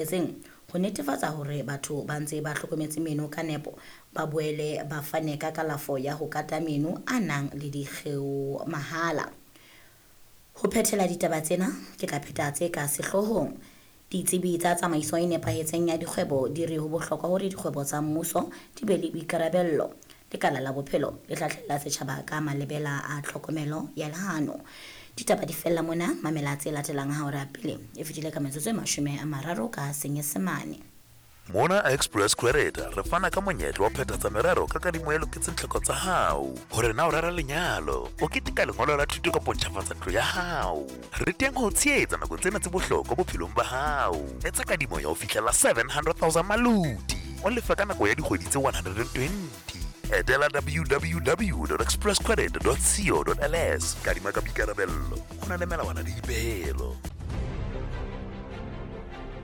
Etseng ho netefatsa hore batho ba ntse ba hlokometse meno ka nepo, ba boele ba fane ka kalafo ya ho kata meno a nang le dikgeo mahala. Ho phethela ditaba tsena, ke tla pheta tse ka sehloohong. Ditsebi tsa tsamaiso e nepahetseng ya dikgwebo di re ho bohlokwa hore dikgwebo tsa mmuso di be le boikarabello. Lekala la bophelo le hlahlella setjhaba ka malebela a tlhokomelo ya lehano. Ditaba di fella mona, mamela tse latelang ha hora pele e fetile ka metsotso e 30 ka Senyesemane. Mona Express Credit re fana ka monyetla wa phethatsa merero ka kadimo e loketseng tlhoko tsa hao. Hore na o rera lenyalo, o keteka lengolo la thuto kapa o ntjhafatsa ntlo ya hao. Re teng ho o tshehetsa nakong tsena tse bohlokwa bophelong ba hao. Etsa kadimo ya ho fihlela 700,000 maloti, o lefe ka nako ya dikgwedi tse 120. Etela www.expresscredit.co.ls. Kadima ka boikarabello, ho na le melawana le dipehelo.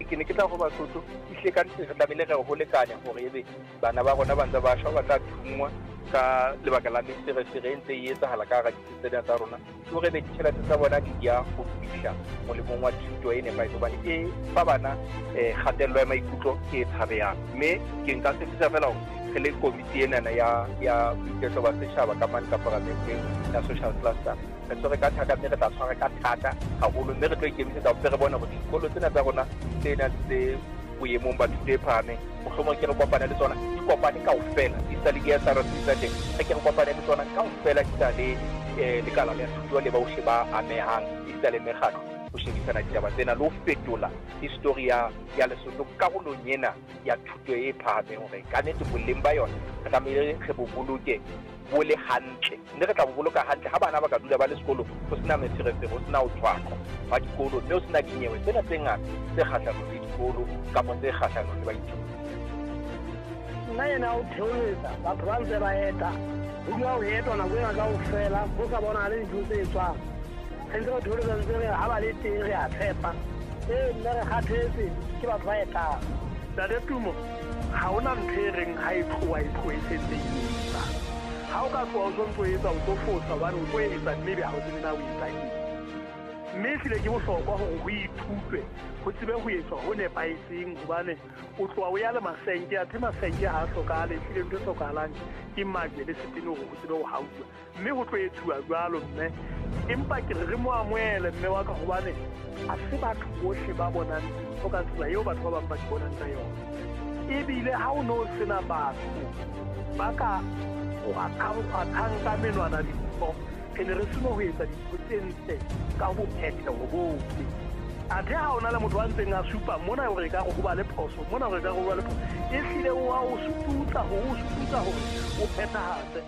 Ke ne ke tla ho Basotho, ehlile ka nnete re tlamehile re ho lekane hore ebe bana ba rona ba ntse ba shwa, ba tla thunngwa ka lebaka la meferefere e ntse e etsahala ka hara ditsi tsena tsa rona. Ke hore ebe ditjhelete tsa bona di ya ho fihla molemong wa thuto e nepahetseng, hobane e fa bana kgatello ya maikutlo e tshabehang. Mme ke nka tshepisa fela hore re le komiti enana ya boiketlo ba setjhaba ka mane ka paramenteng ya social cluster, re tshwere ka thata mme re tla tshwara ka thata haholo, mme re tlo ikemisetsa hore re bone hore dikolo tsena tsa rona tsena tse boemong ba thuto e phahameng, mohlomong ke re kopane le tsona, di kopane kaofela, di sa le di-S R C tsa teng, re ke re kopane le tsona kaofela, di sa le lekala la thuto le bohle ba amehang, esita le mekgatlo, ho shebisana ditaba tsena le ho fetola history ya Lesotho karolong ena ya thuto e phahameng, hore ka nnete boleng ba yona re tlamehile re bo boloke bo le hantle, mme re tla bo boloka hantle ha bana ba ka dula ba le sekolong, ho sena meferefere, ho sena ho tshwaqwa hwa dikolo, mme ho sena dinyewe tsena tse ngata tse kgahlanong le dikolo kapa tse kgahlanong le baithuti. Nna ena o theoletsa batho ba ntse ba eta, ho dula ho etwa nako ena kaofela, ho sa bonahale dintho tse etswang. Re ntse re theoletsa, ntse re ha ba le teng re a tshepa. Ee, mme re kgathetse ke batho ba etang. Ntate Tumo, ha hona ntho e reng ha e tloha e tlohe e sentse e etsa. Ha o ka tloha o sontso o etsa, o tlo fosa hobane o tlo etsa mme ebe ha o tsebe na o etsa eng. Mme ehlile ke bohlokwa hore ho ithutwe, ho tsebe ho etswa ho nepahetseng, hobane o tloha o ya le masenke, athe masenke ha a hlokahale, ehlile ntho e hlokahalang ke majwe le setene hore ho tsebe ho hauwa. Mme ho tlo etsuwa jwalo mme, empa ke re re mo amohele mme wa ka, hobane ha se batho bohle ba bonang dintho ka tsela eo batho ba bang ba di bonang ka yona. Ebile ha o no sena batho ba ka kgwathang ka menwana dintho, re ne re seno ho etsa dintho tse ntle ka ho phetheho bohle. Athe ha ona le motho a ntseng a supa mona hore ekare ho ba le phoso, mona hore ekare ho ba le phoso, ehlile o a o sututsa hore o sututsa hore o phethahatse.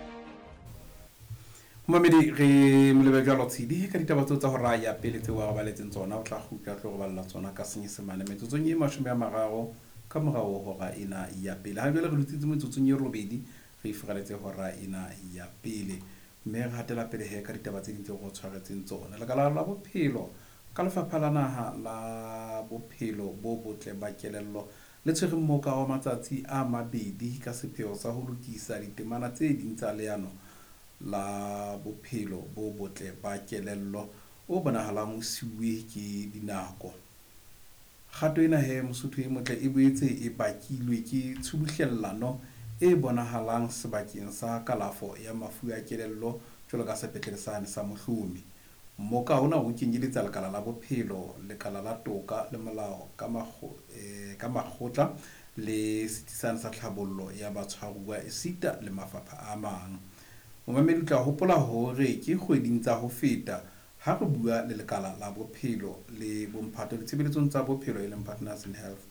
Momamedi, re molebe jwalo Tshidi ka ditaba tseo tsa hora ya pele tseo a re baletseng tsona. O tla kgutla tlo re balla tsona ka Senyesemane metsotsong e 30 ka morao hora ena ya pele. Ha jwale re dutsitse metsotsong e 8 re ifuraletse hora ena ya pele, mme re hatela pele he ka ditaba tse ding tseo re tshwaretseng tsona. Lekala la bophelo ka lefapha la naha la bophelo bo botle ba kelello le tshwere mmoka wa matsatsi a 2 ka sepheo sa ho lokisa ditemana tse ding tsa leano la bophelo bo botle ba kelello o bonahalang o siuwe ke dinako. Kgato ena he Mosotho e motle e boetse e bakilwe ke tshubuhlellano e bonahalang sebakeng sa kalafo ya mafu a kelello jwalo ka sepetlele sane sa Mohlomi. Mmoka ona o kenyeletsa lekala la bophelo, lekala la toka le molao ka makgotla le setsi sane sa tlhabollo ya batshwaruwa esita le mafapha a mang. Momamedi o tla hopola hore ke kgweding tsa ho feta ha re bua le lekala la bophelo le bomphato ditshebeletsong tsa bophelo e leng Partners in Health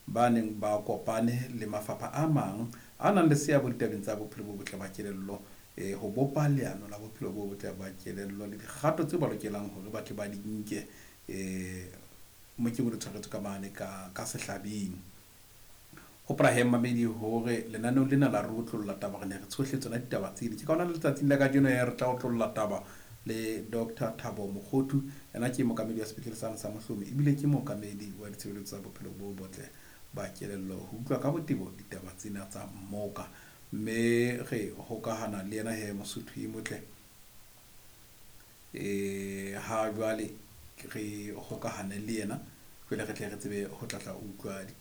ba neng ba kopane le mafapha a mang a nang le seabo ditabeng tsa bophelo bo botle ba kelello, ho bopa leano la bophelo bo botle ba kelello le dikgato tse ba lokelang hore ba tle ba di nke, mokeng o le tshwaretswe ka mane ka sehlabeng. Hopola he mmamedi hore lenaneong lena la re otlolla taba, re ne re tshohle tsona ditaba tsena. Ke ka hona letsatsing la kajeno he re tla otlolla taba le Doctor Thabo Mokgothu, yena ke mookamedi wa sepetlele sane sa Mohlomi ebile ke mookamedi wa ditshebeletso tsa bophelo bo botle ba kelello, ho utlwa ka botebo ditaba tsena tsa mmoka. Mme re hokahana le yena he Mosotho e motle, ha jwale re hokahane le yena. Jwale re tle re tsebe ho tlatla utlwa.